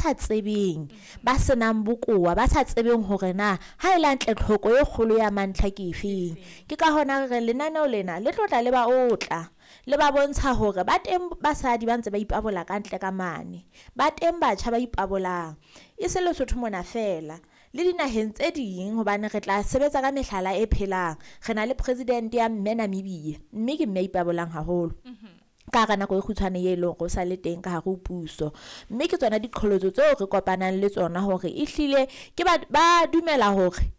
sa tsebeng, ba senang bokowa, ba sa tsebeng hore na ha e le hantle tlhoko e kgolo ya mantlha ke efeng. Ke ka hona re reng lenaneo lena le tlo tla le ba otla, le ba bontsha hore ba teng basadi ba ntse ba ipabola ka ntle ka mane, ba teng batjha ba ipabolang, e se Lesotho mona feela le dinaheng tse ding, hobane re tla sebetsa ka mehlala e phelang. Re na le president ya mme Namibia, mme ke mme a ipabolang haholo ka hara nako e kgutshwane ye leng hore o sa le teng ka hare ho puso. Mme ke tsona diqholotso tseo re kopanang le tsona hore ehlile ke ba dumela hore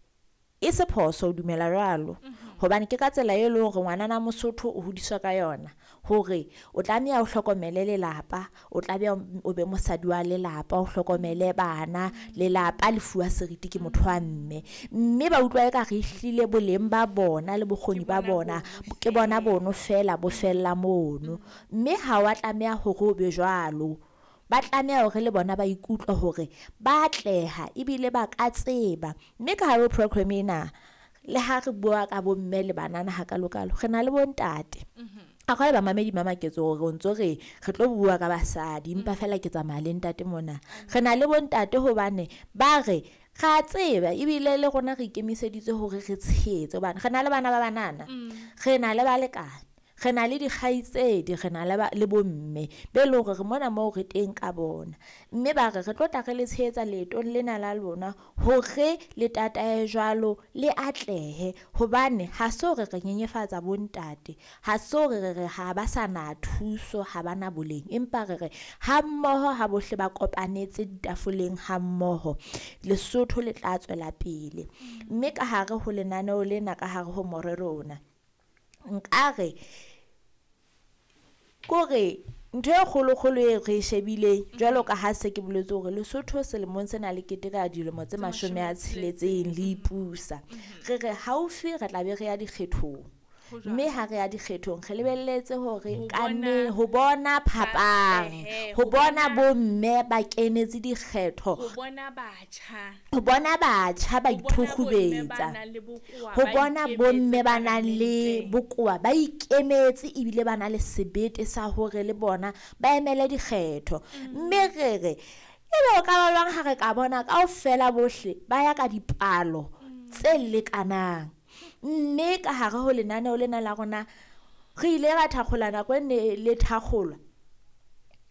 e se phoso ho dumela jwalo, hobane ke ka tsela e leng hore ngwanana Mosotho o hodiswa ka yona, hore o tlameha o hlokomele lelapa, o tlameha o be mosadi wa lelapa, o hlokomele bana, lelapa le fuwa seriti ke motho wa mme. Mme ba utlwa eka re ehlile boleng ba bona le bokgoni ba bona ke bona bono feela bo fella mono, mme ha wa tlameha hore o be jwalo. Ba tlameha hore le bona ba ikutlwe hore ba atleha ebile ba ka tseba. Mme ka hare ho program ena, le ha re bua ka bomme le banana hakalokalo, re na le bontate. A kgale bamamedi ba maketse hore o ntso re re tlo bua ka basadi, empa feela ke tsamaya le ntate mona. Re na le bontate hobane ba re re a tseba ebile le rona re ikemiseditse hore re tshehetse, hobane re na le bana ba banana, re na le balekane, re na le dikgaitsedi, re na le bomme be leng hore re mona moo re teng ka bona. Mme ba re re tlo tla re le tshehetsa leetong lena la lona hore le tatae jwalo, le atlehe, hobane ha se hore re nyenyefatsa bontate, ha se hore re re ha ba sa na thuso, ha ba na boleng, empa re re ha mmoho ha bohle ba kopanetse ditafoleng ha mmoho, Lesotho le tla tswela pele. Mme ka hare ho lenaneo lena, ka hare ho morero ona, nkare kore ntho e kgolokgolo e re e shebileng, jwalo ka ha se ke boletse hore Lesotho selemong sena le keteka dilemo tse 60 le ipusa, re re haufi re tla be re ya dikgethong, mme ha re ya dikgethong re lebelletse hore ka nne ho bona phapang, ho bona bomme ba kenetse dikgetho, ho bona batjha ba ithukhubetsa, ho bona bomme ba nang le bokowa ba ikemetse ebile ba na le sebete sa hore le bona ba emele dikgetho. Mme re re ebe o ka ba jwang ha re ka bona kaofela bohle ba ya ka dipalo tse lekanang. Mme ka hare ho lenaneo lena la rona re ile ra thakgola nako e ne le thakgolwa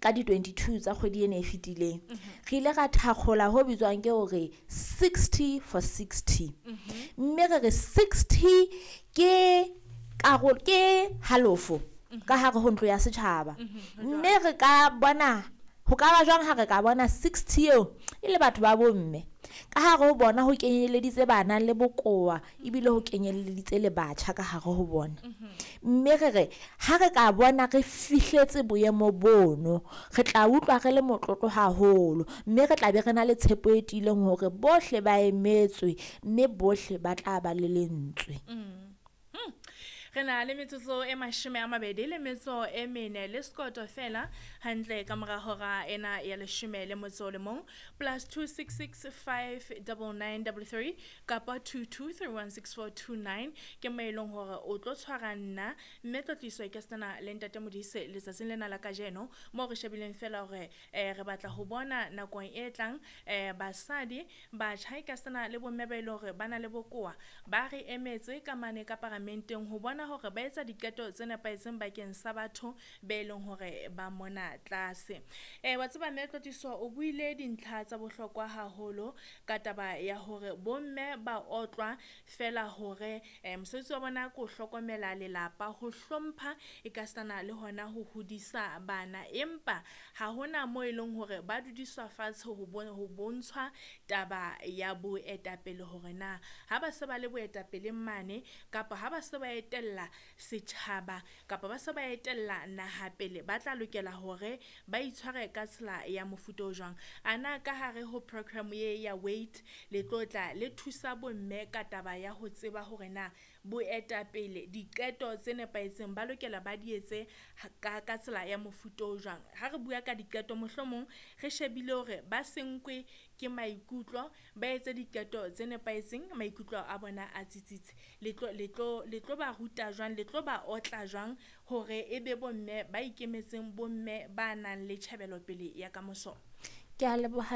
ka di 22 tsa kgwedi ena e fetileng. Re ile ra thakgola ho bitswang ke hore 60 for 60. Mme re re 60 ke karolo, ke halofo ka hare ho ntlo ya setjhaba. Mme re ka bona ho ka ba jwang ha re ka bona 60 eo e le batho ba bomme, ka hare ho bona ho kenyeleditse bana le bokowa ebile ho kenyeleditse le batjha ka hare ho bona. Mme re re ha re ka bona re fihletse boemo bono, re tla utlwa re le motlotlo haholo, mme re tla be re na le tshepo e tiileng hore bohle ba emetswe mme bohle ba tla ba le lentswe. Re na le metsotso e 24 le sekoto fela hantle ka mora hora ena ya 11 +266 59933 kapa 22316429 ke mo e leng hore o tlo tshwara nna mme Tlotliso ke sena le ntate Modise letsatsing lena la kajeno, moo re shebileng fela hore re batla ho bona nakong e tlang basadi, batjha e ka sena le bomme ba e leng hore ba na le bokowa ba re emetse ka mane ka paramenteng ho bona hore ba etsa diqeto tse nepahetseng bakeng sa batho be leng hore ba mona tlase. Wa tseba mme Tlotliso o buile dintlha tsa bohlokwa haholo ka taba ya hore bomme ba otlwa fela hore mosebetsi wa bona ke ho hlokomela lelapa, ho hlompha e ka sitana le hona ho hodisa bana, empa ha hona moo e leng hore ba dudiswa fatshe ho bontshwa taba ya boetapele hore na ha ba se ba le boetapeleng mane kapa ha ba se ba etella setjhaba kapa ba se ba etella naha pele, ba tla lokela hore ba itshware ka tsela ya mofuta o jwang. Ana ka hare ho program ye ya WAIT le tlo tla le thusa bomme ka taba ya ho tseba hore na boetapele, diqeto tse nepahetseng ba lokela ba di etse ka tsela ya mofuta o jwang. Ha re bua ka diqeto mohlomong re shebile hore ba se nkwe ke maikutlo, ba etse diqeto tse nepahetseng, maikutlo a bona a tsitsitse. Le tlo ba ruta jwang, le tlo ba otla jwang hore e be bomme ba ikemetseng, bomme ba nang le tjhebelopele ya kamoso? Ke a leboha.